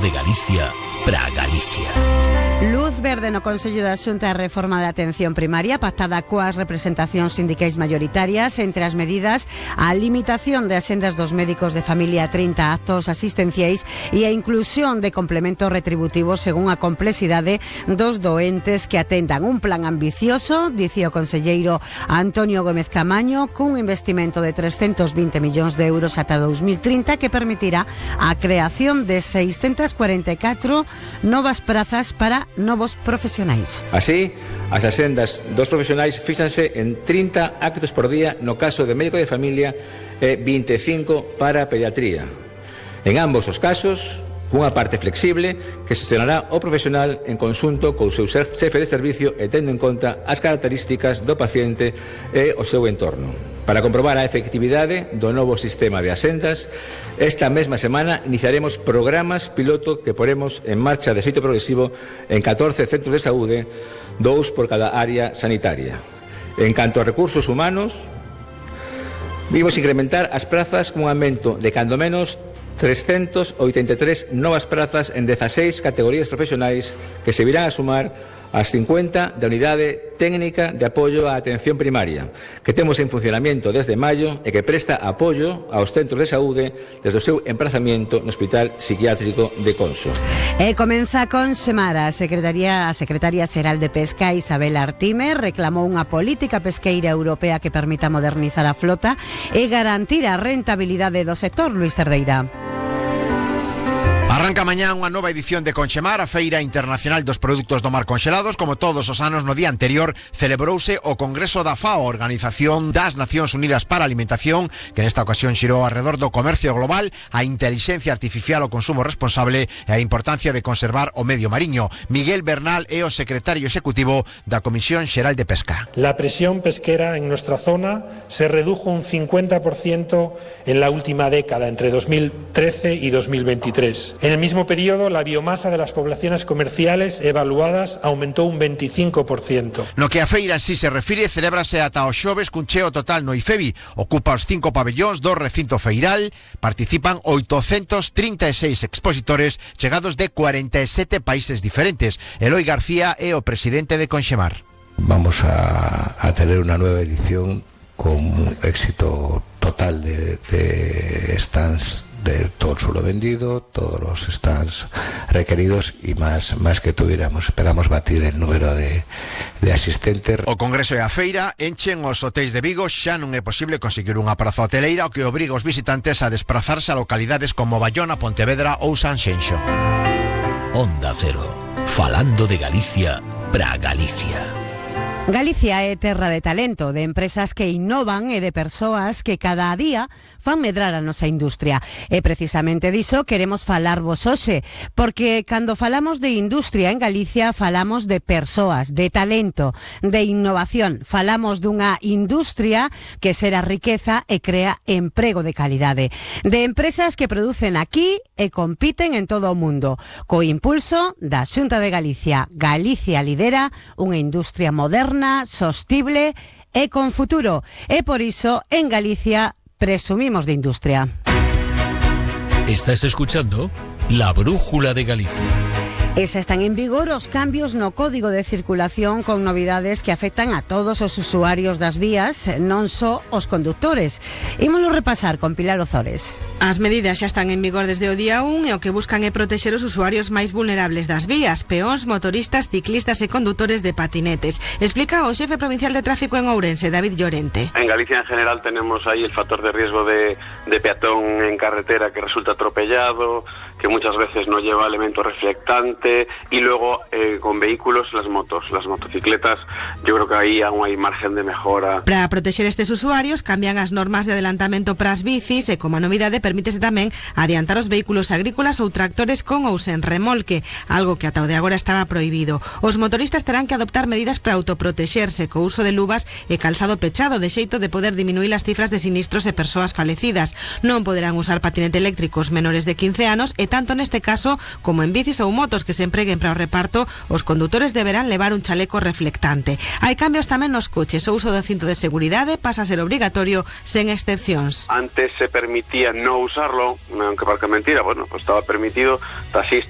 de Galicia para Galicia. Luz verde no Consello da Xunta a reforma da atención primaria pactada coas representacións sindicais maioritarias. Entre as medidas, a limitación de axendas dos médicos de familia a 30 actos asistenciais e a inclusión de complementos retributivos según a complexidade dos doentes que atendan. Un plan ambicioso, dicía o conselleiro Antonio Gómez Camaño, cun investimento de 320 millóns de euros ata 2030 que permitirá a creación de 644 novas prazas para novos profesionais. Así, as axendas dos profesionais fíxanse en 30 actos por día no caso de médico de familia e 25 para pediatría. En ambos os casos, cunha parte flexible que xestionará o profesional en conxunto co seu xefe de servicio e tendo en conta as características do paciente e o seu entorno. Para comprobar a efectividade do novo sistema de axendas, esta mesma semana iniciaremos programas piloto que poremos en marcha de xeito progresivo en 14 centros de saúde, 2 por cada área sanitaria. En canto a recursos humanos, vimos incrementar as prazas cun aumento de cando menos 383 novas prazas en 16 categorías profesionais que se virán a sumar ás 50 da Unidade Técnica de Apoio á Atención Primaria, que temos en funcionamento desde maio e que presta apoio aos centros de saúde desde o seu emprazamento no Hospital Psiquiátrico de Conso. E comeza con Semar. A Secretaria Xeral de Pesca, Isabel Artime, reclamou unha política pesqueira europea que permita modernizar a flota e garantir a rentabilidade do sector. Luis Cerdeira. Arranca mañá unha nova edición de Conchemar, a Feira Internacional dos Produtos do Mar Conxelados. Como todos os anos, no día anterior celebrouse o Congreso da FAO, Organización das Nacións Unidas para a Alimentación, que nesta ocasión xirou alrededor do comercio global, a inteligencia artificial, o consumo responsable e a importancia de conservar o medio mariño. Miguel Bernal é o secretario executivo da Comisión Xeral de Pesca. La presión pesquera en nuestra zona se redujo un 50% en la última década, entre 2013 y 2023. En el mismo periodo, la biomasa de las poblaciones comerciales evaluadas aumentó un 25%. No que a feira en sí se refire, celébrase ata o xoves cun cheo total no IFEBI. Ocupa os 5 pabellóns do recinto feiral. Participan 836 expositores chegados de 47 países diferentes. Eloi García é o presidente de Conxemar. Vamos a tener una nueva edición con un éxito total de stands, de todo el suelo vendido, todos los stands requeridos y más que tuviéramos. Esperamos batir el número de asistentes. O Congreso e a feira enchen os hotéis de Vigo. Xa non é posible conseguir unha praza hoteleira, o que obriga os visitantes a desplazarse a localidades como Bayona, Pontevedra ou Sanxenxo. Onda Cero, falando de Galicia para Galicia. Galicia é terra de talento, de empresas que innovan e de persoas que cada día fan medrar a nosa industria. E precisamente diso queremos falarvos hoxe, porque cando falamos de industria en Galicia falamos de persoas, de talento, de innovación. Falamos dunha industria que xera riqueza e crea emprego de calidade. De empresas que producen aquí e compiten en todo o mundo. Co impulso da Xunta de Galicia, Galicia lidera unha industria moderna, sostible e con futuro. E por iso, en Galicia, presumimos de industria. Estás escuchando La Brújula de Galicia. E xa están en vigor os cambios no Código de Circulación con novidades que afectan a todos os usuarios das vías, non só os condutores. Ímolo repasar con Pilar Ozores. As medidas xa están en vigor desde o día 1 e o que buscan é protexer os usuarios máis vulnerables das vías, peóns, motoristas, ciclistas e condutores de patinetes. Explica o xefe provincial de tráfico en Ourense, David Llorente. En Galicia en general tenemos ahí el factor de riesgo de peatón en carretera que resulta atropellado, que muchas veces no lleva elemento reflectante, y luego con vehículos las motocicletas, yo creo que aí aún hai margen de mejora. Para protexer estes usuarios cambian as normas de adelantamento para as bicis e como a novidade permítese tamén adiantar os vehículos agrícolas ou tractores con ou sen remolque, algo que ata o de agora estaba prohibido. Os motoristas terán que adoptar medidas para autoprotexerse co uso de luvas e calzado pechado, de xeito de poder diminuir as cifras de sinistros e persoas falecidas. Non poderán usar patinete eléctricos menores de 15 anos e tanto neste caso como en bicis ou motos que se empreguen para o reparto, os condutores deberán levar un chaleco reflectante. Hai cambios tamén nos coches. O uso do cinto de seguridade pasa a ser obrigatorio sen excepcións. Antes se permitía no usarlo, aunque parece mentira, bueno, pues estaba permitido, taxistas